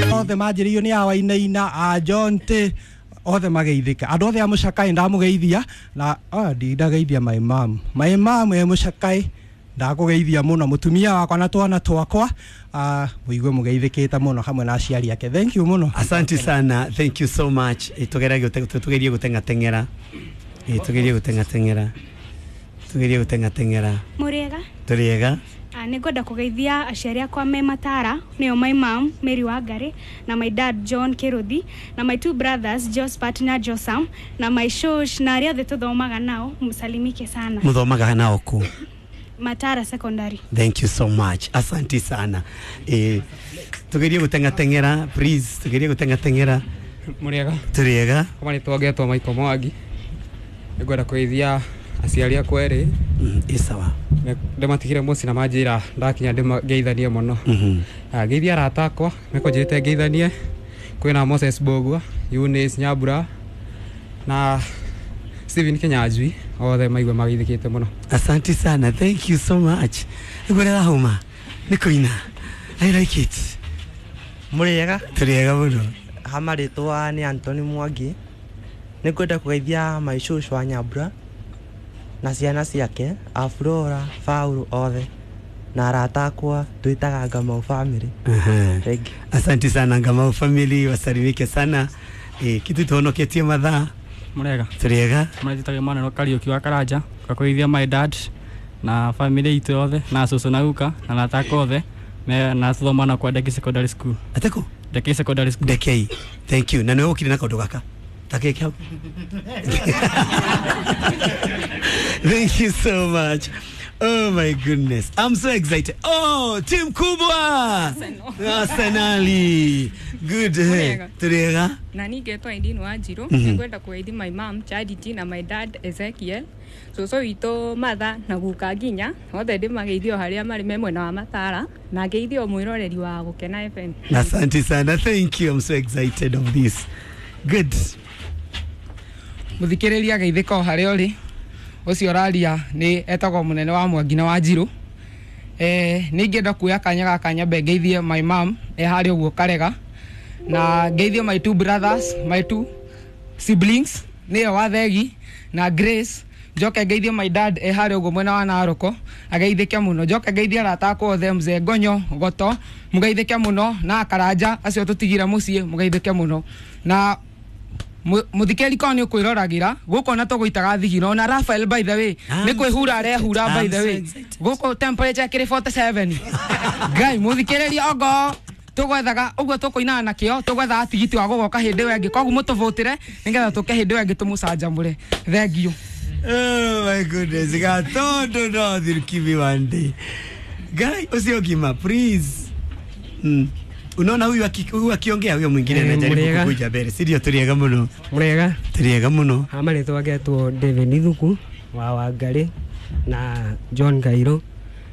Othe manjĩrĩirio nĩ awainaina a Jonte othe mageithĩka andũ othe a Mũcakai ndamũgeithia na ndindageithia my mom, my mom e Mũcakai ndakũgeithia mũno mũtumia wakwa na twana twakwa, mũigue mũgeithĩkĩte mũno hamwe na aciari ake. Thank you mũno. Asante sana, thank you so much. Tugerie gũteng'ateng'era. Tugerie gũteng'ateng'era. Tugerie gũteng'ateng'era. Mũrĩega? Tũrĩega. Nĩ ngwenda kũgeithia aciari akwa me Matara, nĩo my mom Mary Wangari na my dad John Kiruthi na my two brothers Jospat na Josam na my shosh na arĩa othe tũthomaga nao, msalimike sana. Mũthomaga nao kũ? Matara Secondary. Thank you so much. Asante sana. Tugerie gũteng'ateng'era, please, tugerie gũteng'ateng'era. Mũrĩega? Tũrĩega. Kwa marĩtwa ngetwo Michael Mwangi. Nĩngwenda kũgeithia aciari akwa erĩ. Ĩ sawa. Ndĩmatigire mũciĩ na manjĩra ndakinya ndĩmageithanie mũno. Ngeithia arata akwa mekũnjĩrĩte ngeithanie, kwĩna Moses Mbũgua, Eunice Nyambura na Stephen Kinyanjui, othe maigue mageithĩkĩte mũno. Asante sana. Thank you so much. Nĩguo rĩrahũma. Nĩ kũina. I like it. Mũrĩega? Tũrĩega mũno. Ha marĩtwa nĩ Anthony Mwangi. Nĩ ngwenda kũgeithia my shosho wa Nyambura na ciana ciake a Flora, Paul othe na arata akwa twĩtaga Ngamau family. Thank you. Asante sana Ngamau family, wasalimike sana. Kitu tuhonoketie mathaa. Mũrĩega? Tũrĩega. Marĩtĩtagwo Emmanuel Kariũki wa Karanja, ngakũgeithia my dad na family itũ yothe na cũcũ na guka na arata akwa othe na tũthoma na kwa Ndeki Secondary School. Atĩkũ? Ndekei Secondary School. Ndekei. Thank you. Na nĩwe ũkire na kaũndũ gaka. Takeke hau. Thank you so much. Oh my goodness. I'm so excited. Oh, team kubwa. Arsenali. Good. Mũrĩega? Tũrĩega. Na niĩ ngetwo Irene Wanjiru. Nĩngwenda kũgeithia my mom Charity na my dad Ezekiel, cũcũ witũ Martha na guka nginya othe ndĩmageithio harĩa marĩ me mwena wa Matara, na ngeithio mwĩroreri wa Gũkena FM. Asante sana. Thank you. I'm so excited of this. Good. Mũthikĩrĩria geithĩka o harĩa ũrĩ. Ũcio ũraria nĩ etagwo mũnene wa Mwangi na Wanjirũ. Nĩ ingĩenda kuoya kanya gaka nyambe ngeithie my mom e harĩa ũguo Karega, na ngeithie my two brothers, my two siblings, nĩyo Wathegi na Grace. Njoke ngeithie my dad e harĩa ũguo mwena wa Naroko, ageithĩke mũno. Njoke ngeithie arata akwa othe, mzee Ngonyo Goto, mũgeithĩke mũno, na Karanja acio tũtigire mũciĩ, mũgeithĩke mũno. Na mũthikĩrĩria korwo nĩ ũkwĩroragĩra gũkũ ona tũgũitaga thigino na Rafael, by the way, nĩ kwĩhura arehura. By the way, gũkũ temperature ĩkĩrĩ 47. Ngai, mũthikĩrĩria, ongo tũgwethaga ũguo tũkũinaga na kĩo, tũgwethaga tigiti wa gũgoka hĩndĩ ĩyo ĩngĩ, koguo mũtũbũtĩre nĩgetha tũke hĩndĩ ĩyo ĩngĩ tũmũcanjamũre. Thengiũ. Oh my goodness. Gatondo no give me one day. Guy, ũcio ngima, please. Unaona huyu akiongea, huyo mwingine anajaribu Mũrĩega? kukuja mbele. Si ndio? Tũrĩega mũno. Mũrĩega? Tũrĩega mũno. Ha marĩtwa ngetwo David Ithuku wa Wangarĩ na John Kairũ.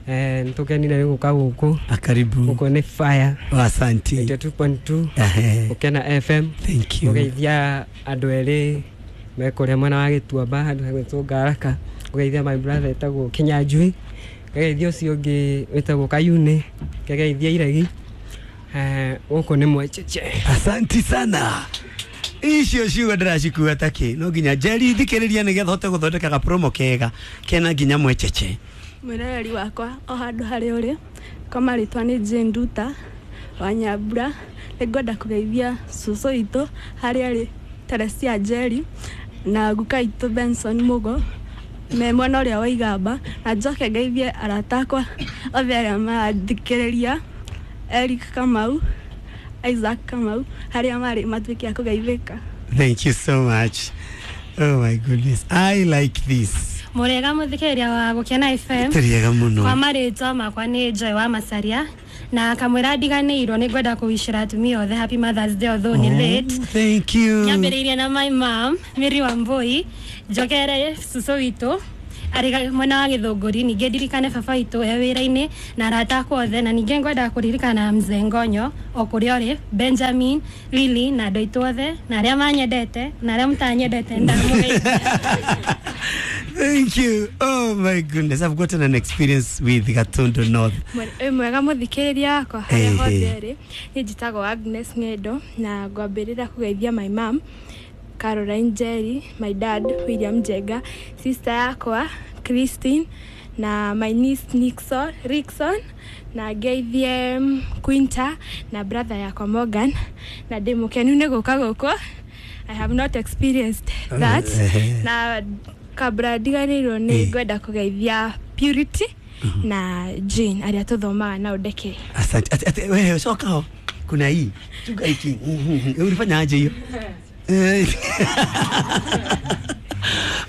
Nĩtũkenire nĩ gũka gũkũ. Karibu. Gũkũ nĩ fire. Asante. 82.2 Ehe. Gũkena FM. Thank you. Gũgeithia andũ erĩ me kũrĩa mwena wa Gĩtuamba handũ hagwĩtwo Ngaraka. Gũgeithia my brother etagwo Kinyanjui. Ngageithia ũcio ũngĩ wĩtagwo Kayune. Ngageithia Iregi. Gũkũ nĩ mwecheche. Asante sana. Icio ciugo ndĩracikua takĩ no nginya Njeri thikĩrĩria nĩgetha hote gũthondeka ga promo kega kena nginya mwecheche. Mwĩroreri wakwa o handũ harĩa ũrĩ, kwa marĩtwa nĩ Jane Nduta wa Nyambura. Nĩ ngwenda kũgeithia cũcũ witũ harĩa arĩ, Teresia Njeri, na guka witũ Benson Mũgo me mwena ũrĩa wa Igamba, na njoke ngeithie arata akwa othe arĩa marathikĩrĩria, Eric Kamau, Isaac Kamau, harĩa marĩ matuĩke a kũgeithĩka. Thank you so much. Oh my goodness. I like this. Mũrĩega mũthikĩrĩria wa Gũkena FM? Tũrĩega mũno. Kwa marĩtwa makwa nĩ Joy wa Macaria, na kamwĩra ndiganĩirwo nĩ ngwenda kũwicĩra atumia othe happy Mother's Day, although nĩ late. Thank you. Nyambĩrĩirie na my mom Mary Wambui, njokere cũcũ witũ arĩ mwena wa Gĩthũngũri, ningĩ ndirikane baba witũ e wĩra-inĩ na arata akwa othe, na ningĩ ngwenda kũririkana Mzee Ngonyo o kũrĩa ũrĩ, Benjamin, Lily na andũ aitũ othe na arĩa manyendete na arĩa mũtanyendete ndamũgeithia. Thank you. Oh my goodness, I've gotten an experience with Gatundu North. Mwega mũthikĩrĩria wakwa harĩa hothe rĩ, niĩ njĩtagwo Agnes Ng'endo na ngwambĩrĩra kũgeithia my mom Caroline Njeri, my dad William Njenga, sister yakwa Christine na my niece Nixon, Rickson, na ngeithie Quinta na brother yakwa Morgan, na ndĩ mũkenu nĩ gũka gũkũ. I have not experienced that. Na kabla ndiganĩirwo nĩ ngwenda kũgeithia Purity na Jane arĩa tũthomaga nao Ndeke. Asante. Ati wewe soka ho. Kuna hii. Chunga hiki. Ulifanya aje hiyo?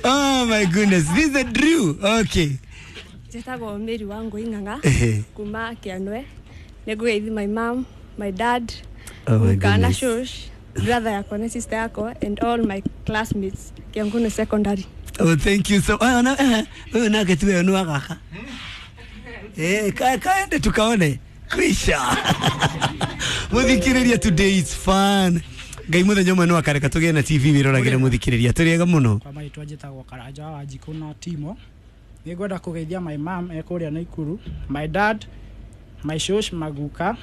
Oh my goodness, this is a Drew. Okay. Njĩtagwo Mary Wangũ Ing'ang'a kuma Kĩanwe. Nĩngũgeithia my mom, my dad, oh my kana goodness, shosh, brother yakwa na sister yakwa and all my classmates Kiangunu Secondary. Oh, thank you so. Oh, na wewe nake tu wewe nuagaka. Kaende tukaone. Kwisha. Muthikiriria, today is fun. Ngai muthenya ũmwe no akareka tũgĩe na TV wĩroragĩre muthikiriria. Tũrĩega mũno. Kwa marĩtwa njĩtagwo Karanja wa Wanjikũ na Timo. Nĩngwenda kũgeithia my mom e kũrĩa Naikuru, my dad, my shosh Maguka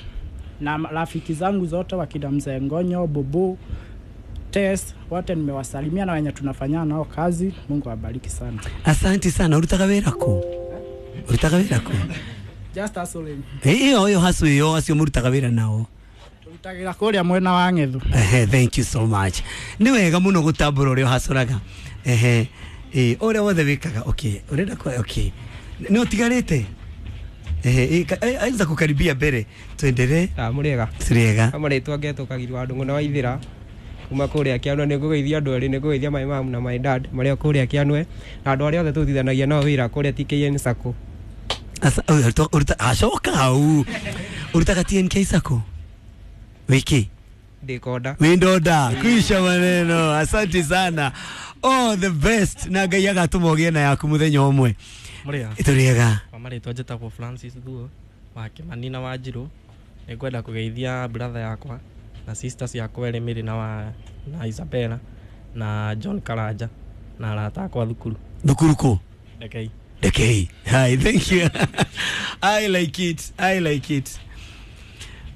na rafiki zangu zote wakina Mzee Ngonyo, Bobo, Tess, wote nimewasalimia na wenye tunafanya nao kazi. Mungu awabariki sana. Asante sana. Urutaga wĩra kũ? Urutaga wĩra kũ? Just hustling. Ĩyo ĩyo hustle ĩyo acio mũrutaga wĩra nao. Tũrutagĩra kũrĩa mwena wa Ng'ethu. Thank you so much. Nĩ wega mũno gũtambũra ũrĩa ũhacũraga. Ũrĩa wothe wĩkaga. Okay, ũrenda kwa okay. Nĩ ũtigarĩte? Anza kukaribia mbere. Tuendelee. Mũrĩega. Tũrĩega. Marĩtwa ngetwo Kagiri wa Ndũng'ũ na Waithĩra kuma kũrĩa Kĩanwe. Nĩ ngũgeithia andũ erĩ, nĩ ngũgeithia my mom na my dad marĩa kũrĩa Kĩanwe na andũ arĩa othe tũrutithanagia nao wĩra kũrĩa TKN Sacco. Acoka hau. Ũrutaga TNK Sacco? Wiki? Ndĩkonda. Windonda. Kuisha maneno. Asante sana. All the best. Na Ngai agatũma ũgĩe na yaku mũthenya ũmwe. Mũrĩega. Tũrĩega. Kwa marĩtwa njĩtagwo Francis Thuo wa Kĩmani na Wanjirũ. Nĩngwenda kũgeithia brother yakwa na sisters yakwa erĩ, Mary na Isabella na John Karanja na arata akwa thukuru. Thukuru kũ? Ndekei. Ndekei. Hi, thank you. I like it. I like it.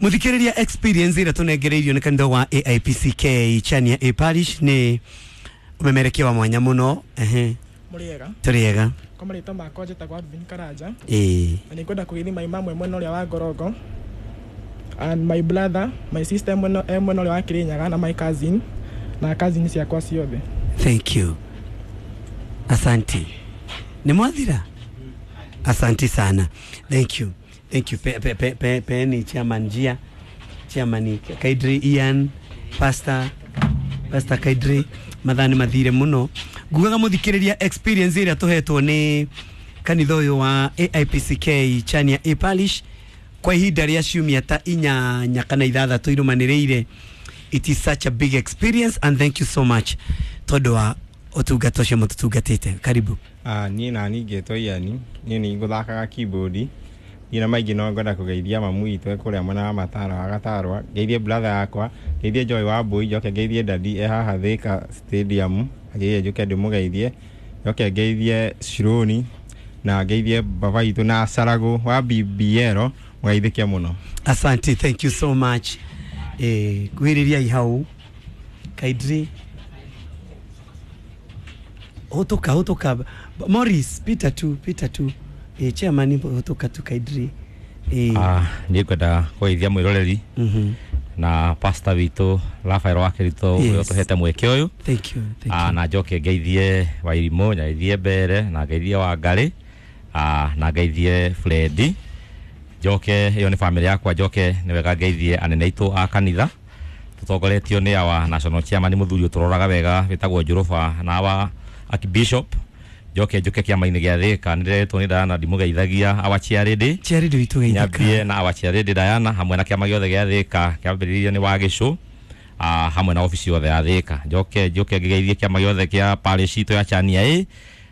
Muthikiriria, experience ĩrĩa tũnengereirio nĩ kanitha wa AIPCK Chania A Parish nĩ ũmemerekia wa mwanya mũno. Mũrĩega. Tũrĩega. Kwa marĩtwa makwa njĩtagwo Alvin Karanja. Na nĩngwenda kũgeithia my mom mwena ũrĩa wa Ngorongo and my brother, my sister mwena ũrĩa wa Kĩrĩnyaga na my cousin na cousin ciakwa ciothe. Thank you. Asante. Nĩ mwathira? Asante sana. Thank you. Thank you. Pe chairman Njia, chairman Kaidri Ian, Pastor Kaidri, mathani mathire muno. Ngugaga muthikiriria experience ĩrĩa tũhetwo nĩ kanitha ũyũ wa AIPCK Chania A Parish kwa ihinda rĩa ciumia ta 8 kana 6 irũmanĩrĩire. It is such a big experience and thank you so much tondũ wa ũtungata ũcio mũtũtungatĩte. Karibu. Niĩ nani ngĩtwo Ian, niĩ nĩ ngũthakaga keyboard. Niĩ na maingĩ no ngwenda kũgeithia mamu witũ kũrĩa mwena wa Matara wa Gatarwa, ngeithie brother yakwa, ngeithie Joy wa Mbui, njoke ngeithie dadi e haha Thika Stadium, ngeithie njoke ndĩmũgeithie, njoke ngeithie Shironi na ngeithie baba witũ na Sarago wa BBL, mũgeithĩke mũno. Asante, thank you so much. Kwĩrĩria hau Kaidri. Hotoka Morris, Peter tu. Chairman hotoka tu Kaidri. Niĩ ngwenda kũgeithia mwĩroreri na pastor witũ Rafael wa Kirito ũrĩa ũtũhete mweke ũyũ. Thank you. Na njoke ngeithie Wairimũ, ngeithie Mbere na ngeithie Wangari, na ngeithie Fredi. Njoke ĩyo nĩ family yakwa, njoke nĩ wega ngeithie anene aitũ a kanitha tũtongoretio nĩ awa national chairman mũthuri ũtũroraga wega wĩtagwo Njũrũba na awa archbishop. Njoke njuke kĩama-inĩ gĩa Thika nĩndĩretwo nĩ Diana ndimũgeithagia awa chairlady witũ geithĩka nyambie na awa chairlady Diana hamwe na kĩama gĩothe gĩa Thika kĩambĩrĩirio nĩ Wagĩcũ hamwe na ofici yothe ya Thika. Njoke njuke ngĩgeithie kĩama gĩothe kĩa parish itũ ya Chania A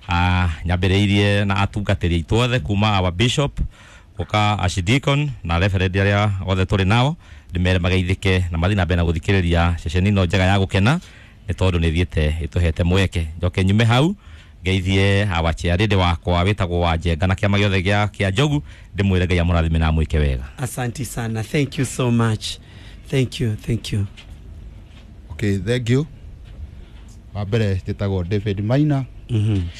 Nyambĩrĩirie na atungatĩri aitũ othe kuma our bishop guka archdeacon na reverend aria othe tũrĩ nao, ndĩmere mageithĩke na mathiĩ na mbere na gũthikĩrĩria ceceni ĩno njega ya gũkena, nĩ tondũ nĩ thiĩte ĩtũhete mweke. Njoke nyume hau ngeithie our chairlady wakwa wĩtagwo Wanjenga na kĩama gĩothe kĩa Njogu, ndĩmwĩre Ngai amũrathime na amwĩke wega. Asante sana, thank you so much, thank you, thank you. Okay, thank you. Wa mbere njĩtagwo David Maina,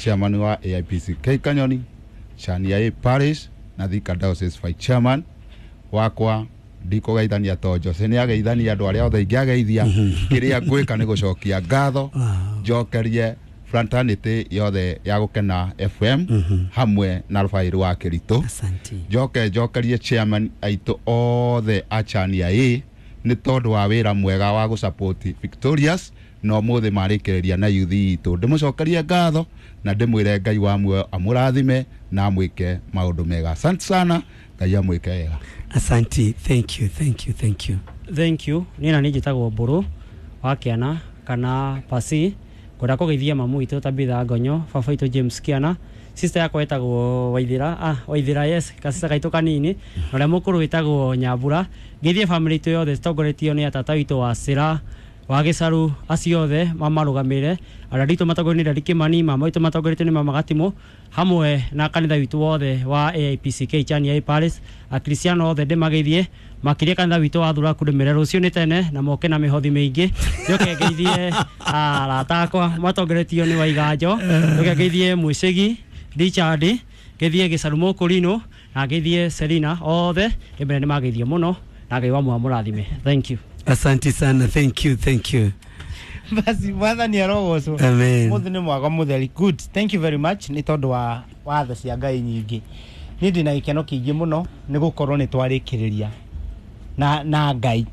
chairman wa AIPCK Kanyoni, Chania A Parish na Thika Diocese Vice Chairman. Wakwa ndikũgeithania to Jose nĩ ageithania andũ arĩa othe ingĩageithia. Kĩrĩa ngwĩka nĩ gũcokia ngatho, njokerie fraternity yothe ya Gũkena FM hamwe na Rũbaĩ rwa Kĩritũ. Njoke njokerie chairman aitũ othe a Chania A nĩ tondũ wa wĩra mwega wa gũsupport Victorious, na ũmũthĩ marĩkĩrĩria na youth itũ. Ndĩmũcokerie ngatho na ndĩmwĩre Ngai wa muoyo amũrathime na amwĩke maũndũ mega. Asante sana, Ngai amwĩke wega. Asante, thank you, thank you, thank you. Thank you. Niĩ na niĩ njĩtagwo Mbũrũ wa Kĩana kana Pasi. Ngwenda kũgeithia mamu witũ Tabitha Ngonyo, baba witũ James Kĩana, sister yakwa ĩtagwo Waithĩra, Waithĩra, yes, kasista gaitũ kanini, na ũrĩa mũkũrũ wĩtagwo Nyambura. Ngeithie family itũ yothe citongoretio nĩ atata witũ wa Cĩra wa Gĩcaru, acio othe mamarũgamĩre, arĩa aitũ matongoretio nĩ Dadi Kĩmani, mama witũ matongoretio nĩ mama Gatimũ, hamwe na kanitha witũ wothe wa AIPCK Chania A Parish, akristiano othe ndĩmageithie, makĩria kanitha witũ wa Thuraku ndĩmere rũciũ nĩ tene na moke na mĩhothi mĩingĩ. Njoke ngeithie arata akwa matongoretio nĩ Waiganjo, njoke ngeithie Mwĩcĩgi Richard, ngeithie Gĩcaru Mũkũrinũ na ngeithie Selina, othe ndĩmere nĩmageithio mũno na Ngai wa muoyo amũrathime. Thank you. Asante sana, thank you, thank you. Basi mwathani arogocwo. Amen. Muthi nĩ mwaga mũtheri. Good, thank you very much nĩ tondũ wa watho cia Ngai nyingĩ. Niĩ ndĩna gĩkeno kĩingĩ mũno nĩ gũkorwo nĩ twarĩkĩrĩria na Ngai.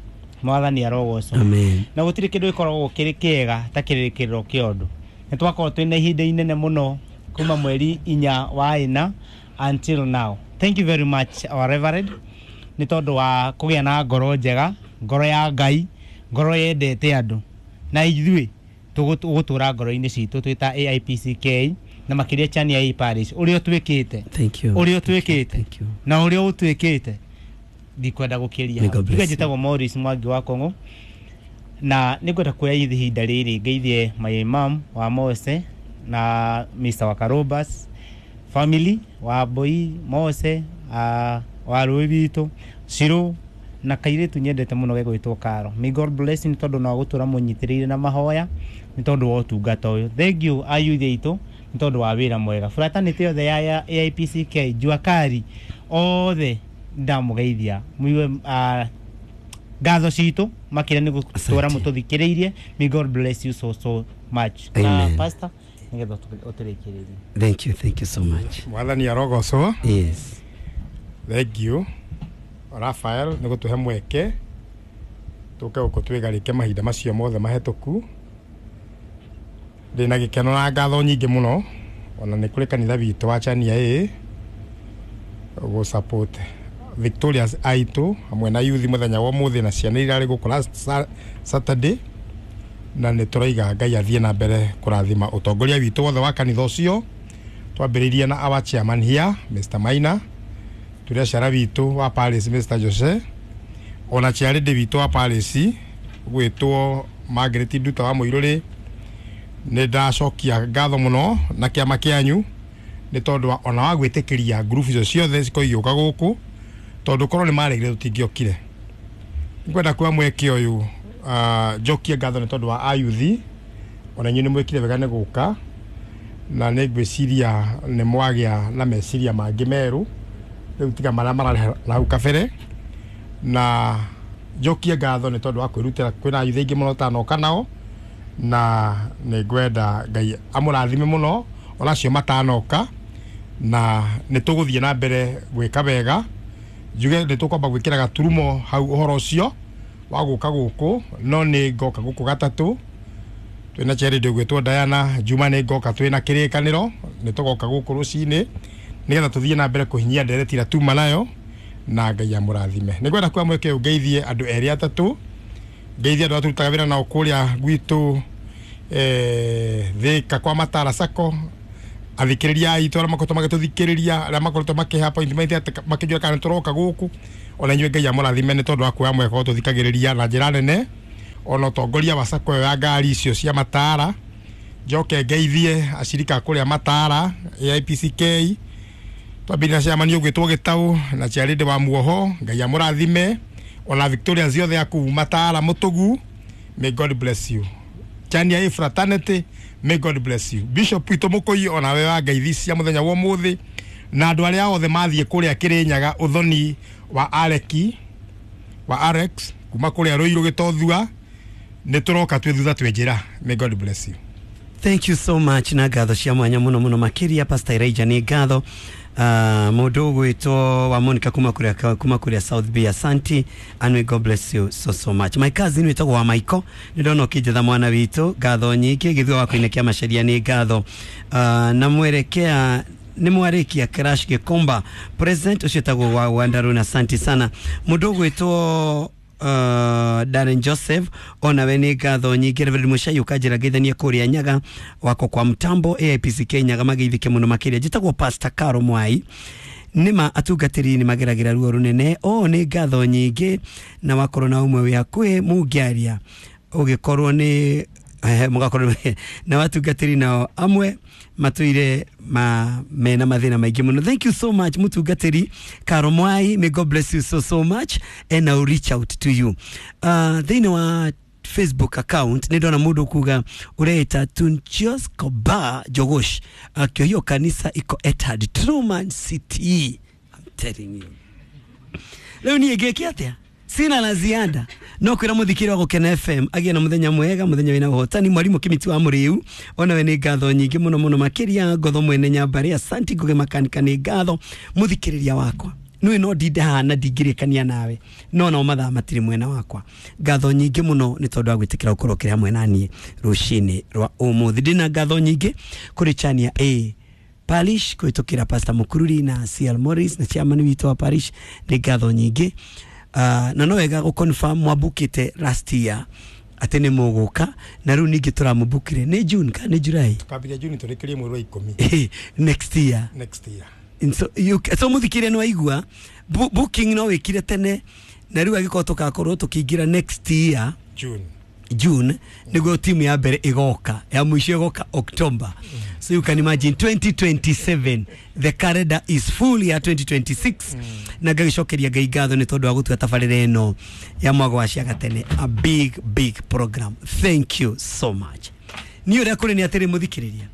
Mwathani arogocwo. Amen. Na gũtirĩ kĩndũ gĩkoragwo kĩrĩ kĩega ta kĩrĩkĩrĩro kĩa ũndũ. Nĩ twakorwo twĩna ihinda inene mũno kuma mweri 4 wa 4 until now. Thank you very much our reverend nĩ tondũ wa kũgĩa na ngoro njega, ngoro ya Ngai, ngoro yendete andũ, na ithuĩ tũgũtũra ngoro-inĩ citũ twĩ ta AIPCK na makĩria Chania A Parish, ũrĩa ũtwĩkĩte. Thank you. Ũrĩa ũtwĩkĩte na ũrĩa ũtwĩkĩte ndikwenda gũkĩria. May God bless Njuge njĩtagwo Maurice Mwangi wa Kong'o, na nĩngwenda kuoya ihinda rĩrĩ ngeithie my mom wa Mose na Mr. Wakarobas family wa Mbui Mose, wa rũĩ witũ Cirũ, na kairĩtu nyendete mũno gegwĩtwo Karo. May God bless nĩ tondũ no gũtũra mũnyitĩrĩire na mahoya nĩ tondũ wa ũtungata ũyũ. Thank you ayuthi aitũ nĩ tondũ wa wĩra mwega. Fraternity yothe ya AIPCK Jua Kali othe ndamũgeithia muigue ngatho citũ makĩria nĩ gũtũra mũtũthikĩrĩirie. May God bless you so so much. Na Amen. pastor nĩgetha ũtũrĩkĩrĩrie. Thank you, thank you so much. Mwathani arogocwo. Yes. Thank you Rafael nĩ gũtũhe mweke tũke gũkũ twĩgarĩke mahinda macio mothe mahĩtũku. Ndĩna gĩkeno na ngatho nyingĩ mũno ona nĩ kũrĩ kanitha witũ wa Chania A gũ support Victorious aitũ hamwe na youth mũthenya wa ũmũthĩ na ciana iria irarĩ gũkũ last Saturday, na nĩ tũraiga Ngai athiĩ na mbere kũrathima ũtongoria witũ wothe wa kanitha ũcio. Twambĩrĩirie na our chairman here Mr. Maina, tũrĩ aciara witũ wa Paris Mr. Jose, ona chairlady witũ wa Paris gwĩtwo Margaret Nduta wa Mũirũrĩ. Nĩ ndacokia ngatho mũno na kĩama kĩanyu nĩ tondũ ona wa gwĩtĩkĩria ngurubu icio ciothe cikorwo igĩũka gũkũ, tondũ korwo nĩ maregire tũtingĩokire. Ngwenda kuoya mweke ũyũ njokie ngatho nĩ tondũ wa ayuthi, ona inyuĩ nĩ mwĩkire wega nĩ gũka, na nĩ ngwĩciria nĩ mwagĩa na meciria mangĩ merũ rĩu tiga marĩa mararĩ na hau kabere. Na njokie ngatho nĩ tondũ wa kwĩrutĩra, kwĩna ayuthi aingĩ mũno tanoka nao, na nĩ ngwenda Ngai amũrathime mũno ona acio matanoka, na nĩ tũgũthiĩ na mbere gwĩka wega. Njuge nĩ tũkwamba gwĩkĩra gaturumo hau ũhoro ũcio wa gũka gũkũ, no nĩ ngoka gũkũ gatatũ twĩna charity ũgwĩtwo Diana Juma, nĩ ngoka twĩna kĩrĩkanĩro, nĩ tũgoka gũkũ rũcinĩ nĩgetha tũthiĩ na mbere kũhinyia ndereti ĩrĩa tuma nayo, na Ngai amũrathime. Nĩ ngwenda kuoya mweke ũyũ ngeithie andũ erĩ atatũ, ngeithie andũ arĩa tũrutaga wĩra nao kũrĩa gwitũ Thika kwa Matara Sacco, Athikĩrĩria aitũ arĩa makoretwo magĩtũthikĩrĩria, arĩa makoretwo makĩhe appointment atĩ makĩnjũria kana nĩtũroka gũkũ, ona inyuĩ Ngai amũrathime nĩ tondũ wa kuoya mweke wa gũtũthikagĩrĩria na njĩra nene, ona ũtongoria wa sacco ĩyo ya ngari icio cia Matara. Njoke ngeithie acirika kũrĩa Matara AIPCK, twambĩrĩria na chairman ũgwĩtwo Gĩtaũ na chairlady wa Muoho, Ngai amũrathime, ona Victoria ciothe aku Matara Mũtũgu, may God bless you. Chania A fraternity, may God bless you. Bishop witũ Mũkũi, ona we wa ngeithi cia mũthenya wa ũmũthĩ, na andũ arĩa othe mathiĩ kũrĩa Kĩrĩnyaga ũthoni wa Areki wa Arex kuma kũrĩa Rũirũ Gĩtothua, nĩ tũroka twĩ thutha twĩ njĩra. May God bless you. Thank you so much na ngatho cia mwanya muno muno makiria Pastor Elijah nĩ ngatho. Mũndũ ũgwĩtwo wa Monica kuma kuria South B, asanti and may God bless you so so much. My cousin wĩtagwo wa Maiko, nĩ ndona ũkĩnjetha mwana witũ, ngatho nyingĩ. Gĩthua wa kũinĩkia macaria nĩ ngatho. Na mwerekea nĩ mwarĩkia crash Gĩkomba president ũcio wĩtagwo wa Wandaruna, asanti sana. Mũndũ ũgwĩtwo Darren Joseph, onawe nĩ ngatho nyingĩ. Reverend Muchai ũkanjĩra ngeithanie kũrĩa Nyaga wako kwa mtambo AIPCK Nyaga, mageithĩke mũno makĩria. Njĩtagwo Pastor Caro Mwai, nĩma atungatĩri nĩ mageragĩra ruo rũnene o nĩ ngatho nyingĩ, na wakorwo na ũmwe wĩ hakuhĩ mũngĩaria ũgĩkorwo nĩ mũgakorwo na watungatĩri nao amwe matuire ma mena mathina maingĩ mũno. Thank you so much, mũtungatĩri Caro Mwai, may God bless you so so much and I will reach out to you. Thĩinĩ wa Facebook account nĩ ndona mũndũ kuga ũreita Tunchios Koba Jogosh akio hiyo kanisa iko Etihad Truman City. I'm telling you, rĩu niĩ ngĩke atĩa? Sina la ziada no kwĩra mũthikĩri wa Gũkena FM agĩe na mũthenya mwega, mũthenya wĩna ũhotani. Mwarimũ Kĩmiti wa Mũrĩu, onawe nĩ ngatho nyingĩ mũno mũno makĩria. Ngotho mwene nyambarĩ, asanti. Ngũgĩ makanika nĩ ngatho. Mũthikĩrĩria wakwa nĩ no ndinde haha na ndingĩrĩkania nawe, no nao mathaa matirĩ mwena wakwa. Ngatho nyingĩ mũno nĩ tondũ wa gwĩtĩkĩra gũkorwo ũkĩrĩ hamwe na niĩ rũcinĩ rwa ũmũthĩ. Ndĩna ngatho nyingĩ kũrĩ Chania A Parish kũhĩtũkĩra Pastor Mukururi na CL Morris na chairman witũ wa parish, nĩ ngatho nyingĩ. Na no wega gũ-confirm mwambukĩte last year atĩ nĩ mũgũka, na rĩu ningĩ tũramũbukire nĩ June kana nĩ July? Tukambĩrĩria June tũrĩkĩrie mweri wa 10. Next year. Next year. And so, you, so mũthikĩria nĩ waigua booking no wĩkire tene, na rĩu angĩkorwo tũgakorwo tũkĩingĩra next year June, June nĩguo timu ya mbere ĩgoka, ya mũico ĩgoka October. So you can imagine 2027, the calendar is full ya 2026. Na ngagĩcokeria Ngai ngatho nĩ tondũ wa gũtua tabarĩra ĩno ya mwago wa Ciagatene a big big program. Thank you so much. Niĩ ũrĩa kũrĩ nĩ atĩrĩ, mũthikĩrĩria,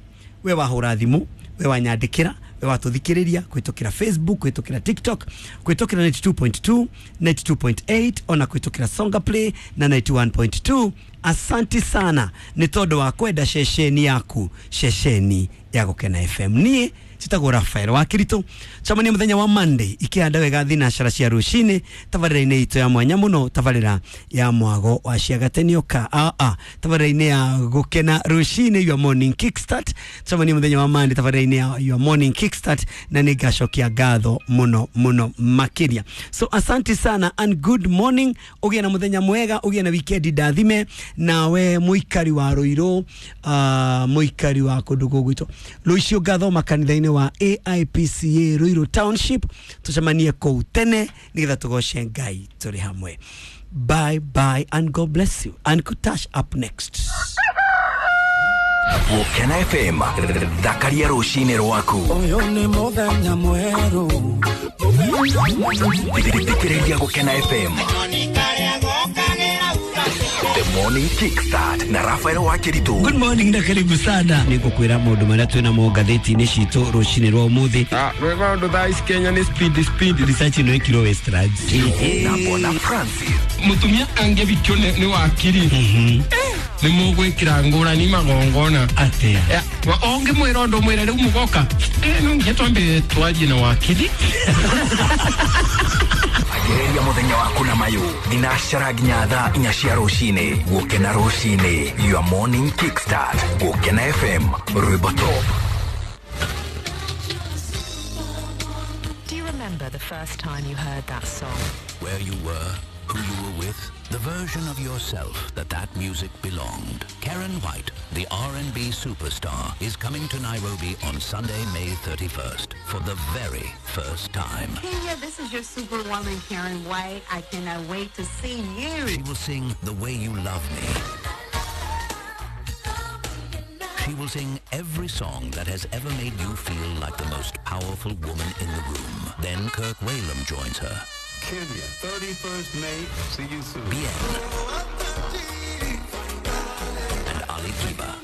we wahũra thimũ, we wanyandĩkĩra, we watũthikĩrĩria kũhĩtũkĩra Facebook, kũhĩtũkĩra TikTok, kũhĩtũkĩra 92.2, 92.8, ona kũhĩtũkĩra Songa Play na 91.2, asanti sana nĩ tondũ wa kwenda ceceni yaku, ceceni ya Gũkena FM. Niĩ njĩtagwo Rafael wa Kiritũ, cemania mũthenya wa Monday ikĩhanda wega thinacara cia rũcinĩ tabarĩra-inĩ itũ ya mwanya mũno, tabarĩra ya mwago wa Ciagatenioka aa tabarĩra-inĩ ya Gũkena rũcinĩ, your morning kickstart. Cemania mũthenya wa Monday tabarĩra-inĩ ya your morning kickstart, na nĩ ngacokia ngatho mũno mũno makĩria. So asanti sana and good morning. Ũgĩe na mũthenya mwega, ũgĩe na weekend ndathime. Nawe mũikari wa Rũirũ, mũikari wa kũndũ gũgwitũ rũciũ ngathoma kanitha-inĩ wa AIPCA Ruiru Township, tucemanie kũu tene nĩgetha tũgoce Ngai tũrĩ hamwe. Bye bye and God bless you, and Kutash up next. Gũkena FM, thakaria rũcinĩ rwaku. Ũyũ nĩ mũthenya mwerũ. Thikĩrĩria Gũkena FM, The Morning Kickstart na Rafael Wakiritu. Good morning na karibu sana. Nĩ ngũkwĩra maũndũ marĩa twĩ namo ngathĩti-inĩ citũ rũcinĩ rwa ũmũthĩ. Maũndũ thaa ici Kenya nĩ speed speed. Research ĩno ĩkirwo Westlands. Na Bwana Francis. Mũtumia angĩbikio nĩ wakiri nĩ mũgwĩkĩra ngũrani magongona. Atĩa? Ũngĩmwĩra ũndũ mwĩre rĩu mũgoka no nginya twambe twarie na wakiri. Ambĩrĩria mũthenya waku na mayũ thinacara nginya thaa 4 cia rũcinĩ. Gũkena rũcinĩ, your morning kickstart. Gũkena FM, rwĩmbo top. Do you remember the first time you heard that song? Where you were, who you were with, The version of yourself that music belonged. Karen White, the R&B superstar, is coming to Nairobi on Sunday, May 31st for the very first time. Kenya, this is your superwoman, Karen White. I cannot wait to see you. She will sing The Way You Love Me. She will sing every song that has ever made you feel like the most powerful woman in the room. Then Kirk Whalum joins her. Kenya, 31st May. See you soon. Bien. And Ali Kiba.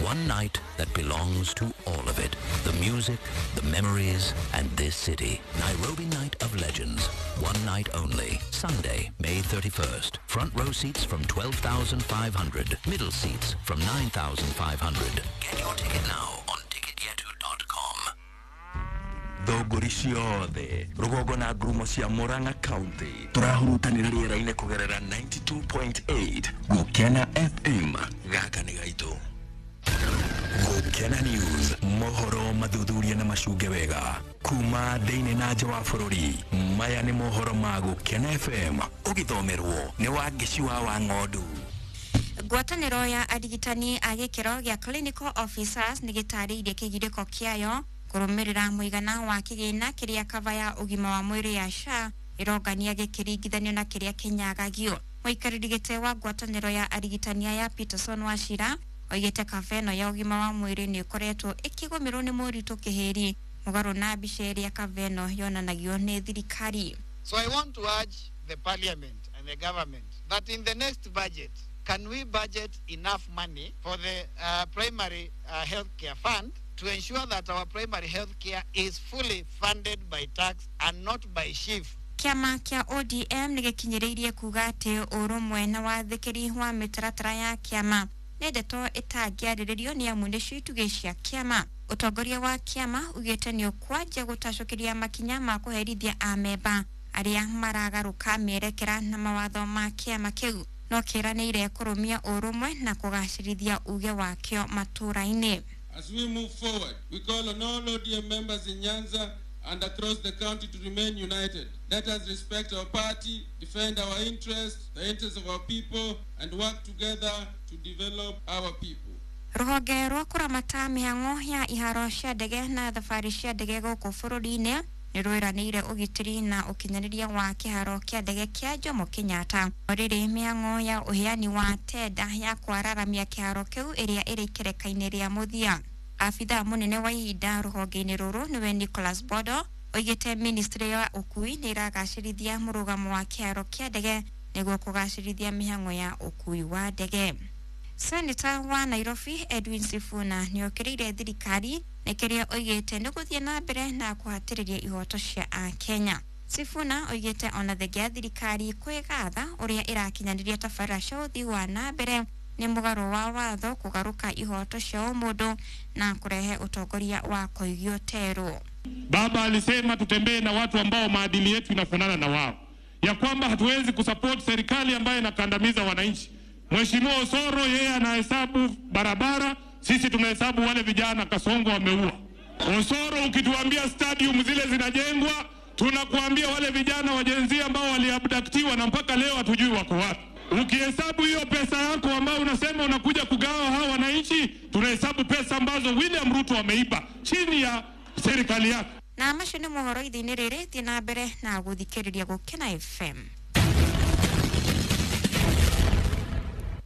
One night that belongs to all of it. The music, the memories, and this city. Nairobi Night of Legends. One night only. Sunday, May 31st. Front row seats from 12,500. Middle seats from 9,500. Get your ticket now on ticketyetu.com. Thũngũri ciothe rũgongo na ngurumo cia Murang'a County tũrahurutanĩra rĩera-inĩ kũgerera 92.8 Gũkena FM. Gaka nĩ gaitũ. Gũkena News, mohoro mathuthuria na macunge wega kuma thĩinĩ na nja wa bũrũri. Maya nĩ mohoro ma Gũkena FM, ũgĩthomerwo nĩ Wangeci wa Wang'ondu. Ngwatanĩro ya arigitani a gĩkĩro gĩa clinical officers nĩ gĩtarĩirie kĩgirĩko kĩayo kũrũmĩrĩra mũigana wa kĩgĩna kĩrĩa kava ya ũgima wa mwĩrĩ ya SHA ĩrongania gĩkĩringithanio na kĩrĩa kĩnyagagio. Mũikarĩri gĩtĩ wa ngwatanĩro ya arigitani ya Peterson Wachira oigĩte kava ĩno ya ũgima wa mwĩrĩ nĩ ĩkoretwo ĩkĩgũmĩrwo nĩ moritũ kĩhĩri mũgarũ na mbica ĩrĩa kava ĩno yonanagio nĩ thirikari. So I want to urge the parliament and the government that in the next budget, can we budget enough money for the primary health care fund to ensure that our primary health care is fully funded by tax and not by SHIF? Kĩama kĩa ODM nĩ gĩkinyĩrĩirie kuga atĩ ũrũmwe na wathĩkĩri wa mĩtaratara ya kĩama nĩ ndeto ĩtangĩarĩrĩrio nĩ amu nĩcio itugĩ cia kĩama. Ũtongoria wa kĩama ugĩte nĩ ũkwanjia gũtacũkĩria makinya ma kũherithia amemba arĩa maragarũka mĩerekera na mawatho ma kĩama kĩu, no kĩranĩire kũrũmia ũrũmwe na kũgacĩrithia uge wakĩo matũũra-inĩ. As we move forward, we call on all ODM members in Nyanza and across the county to remain united. Let us respect our party, defend our interests, the interests of our people, and work together to develop our people. Rũhonge rwa kũramata mĩhang'o ya iharo cia ndege na thabarĩ cia ndege gũkũ bũrũri-inĩ nĩ rwĩranĩire ũgitĩri na ũkinyanĩria wa kĩharo kĩa ndege kĩa Jomo Kenyatta. Rĩrĩ mĩhang'o ya ũheani wa tenda ya kwararamia kĩharo kĩu ĩrĩa ĩrĩ ikereka-inĩ rĩa mũthia. Abithaa mũnene wa ihinda rũhonge-inĩ rũrũ nĩwe Nicholas Bodo oigĩte ministry ya ũkui nĩ ĩragacĩrithia mũrũgamo wa kĩharo kĩa ndege nĩguo kũgacĩrithia mĩhang'o ya ũkui wa ndege. Senator wa Nairobi Edwin Sifuna nĩokĩrĩire thirikari nĩ kĩrĩa oigĩte nĩ gũthiĩ na mbere na kũhatĩrĩria ihoto cia Akenya. Sifuna oigĩte ona thengia ya thirikari kwĩgatha ũrĩa ĩrakinyanĩria tabarĩra cia ũthii wa na mbere nĩ mũgarũ wa watho kũgarũka ihoto cia ũmũndũ na kũrehe ũtongoria wa kũigio terũ. Baba alisema tutembee na watu ambao maadili yetu inafanana na wao, ya kwamba hatuwezi kusupport serikali ambayo inakandamiza wananchi. Mheshimiwa Osoro yeye anahesabu barabara, sisi tunahesabu wale vijana Kasongo wameua. Osoro ukituambia stadium zile zinajengwa, tunakuambia wale vijana wa Gen Z ambao waliabductiwa na mpaka leo hatujui wako wapi. Ukihesabu hiyo pesa yako ambayo unasema unakuja kugawa hawa wananchi, tunahesabu pesa ambazo William Ruto ameiba chini ya serikali yake. Na macio nĩ mohoro ithe-inĩ rĩrĩ, thiĩ na mbere na gũthikĩrĩria Gũkena FM.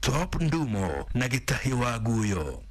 Top Ndumo na Gĩtahi wa Guyo.